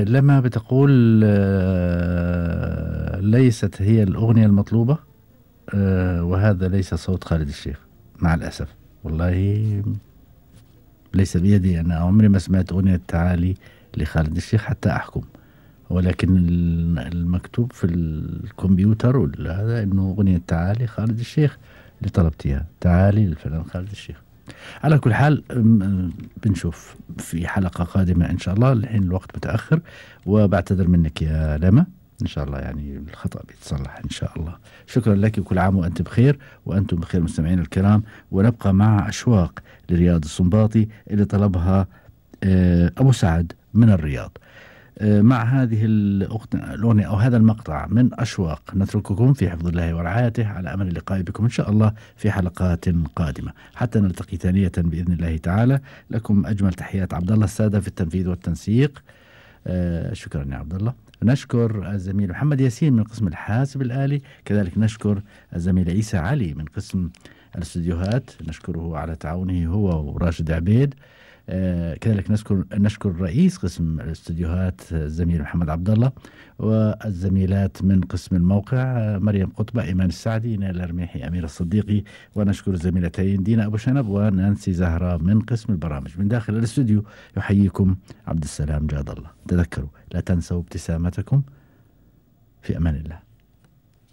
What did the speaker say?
لما بتقول ليست هي الأغنية المطلوبة. وهذا ليس صوت خالد الشيخ مع الأسف. والله ليس بيدي، أنا عمري ما سمعت أغنية تعالي لخالد الشيخ حتى أحكم. ولكن المكتوب في الكمبيوتر هذا إنه أغنية تعالي خالد الشيخ اللي طلبتيها، تعالي للفنان خالد الشيخ. على كل حال بنشوف في حلقة قادمة إن شاء الله. الحين الوقت متأخر وبعتذر منك يا لما. إن شاء الله يعني الخطأ بيتصلح إن شاء الله. شكرا لك وكل عام وأنت بخير وأنتم بخير مستمعين الكرام. ونبقى مع أشواق لرياض السنباطي اللي طلبها أبو سعد من الرياض. مع هذه الأغنية أو هذا المقطع من أشواق نترككم في حفظ الله ورعايته، على أمل اللقاء بكم إن شاء الله في حلقات قادمة حتى نلتقي ثانية بإذن الله تعالى. لكم أجمل تحيات عبد الله السادة في التنفيذ والتنسيق. شكرا يا عبد الله. نشكر الزميل محمد ياسين من قسم الحاسب الآلي، كذلك نشكر الزميل عيسى علي من قسم الاستديوهات، نشكره على تعاونه هو وراشد عبيد. كذلك نشكر رئيس قسم الاستديوهات الزميل محمد عبد الله، والزميلات من قسم الموقع مريم قطبة، إيمان السعدي، نيل الرميحي، أمير الصديقي. ونشكر الزميلتين دينا أبو شنب ونانسي زهرة من قسم البرامج. من داخل الاستوديو يحييكم عبد السلام جاد الله. تذكروا لا تنسوا ابتسامتكم. في أمان الله.